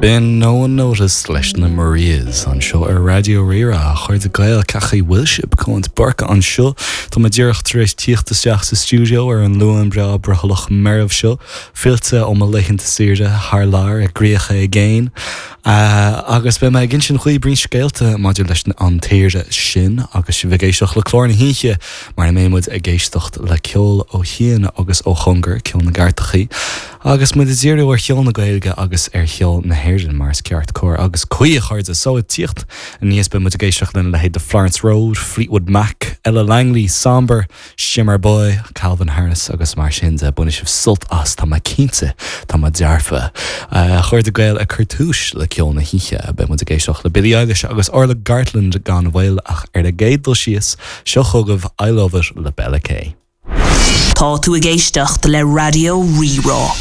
B'in No One Noticed leis na Marías anseo ar Raidió Rí-Rá. A chairde Gael, cén chaoi a bhfuil sibh? Colm de Búrca anseo. Tá mé díreach tar éis tíocht isteach sa stiúideo ar an Luan breá brothallach meirbh seo, fillte ó mo laethanta saoire thar lear i gcríocha i gcéin. Agus beidh mé ag insint dhaoibh roinnt scéalta maidir leis an tsaoire sin agus sibh ag éisteacht le clár na hoíche mar a mbeidh muid ag éisteacht le ceol ó chian agus ó chóngar, ceol na gcairteachaí. Agus muid ag díriú ar cheol na Gaeilge agus ar cheol na hÉireann, mar is ceart, cóir agus cuí, a chairde. So, ag tíocht aníos, beidh muid ag éisteacht lena leithéid de Florence Road, Fleetwood Mac, Ella Langley, Sombre, Shimmer Boy, Calvin Harris agus mar sin de. Bainfidh sibh sult as, tá mé cinnte, tá mé dearfa. A chairde Gael, ag cur túis le ceol na hoíche, beidh muid ag éisteacht le Billie Eilish agus Orla Gartland gan mhoill ach ar an gcéad dul síos, seo chugaibh I Love It le Bella K. Tá tú ag éisteacht le Raidió Rí-Rá.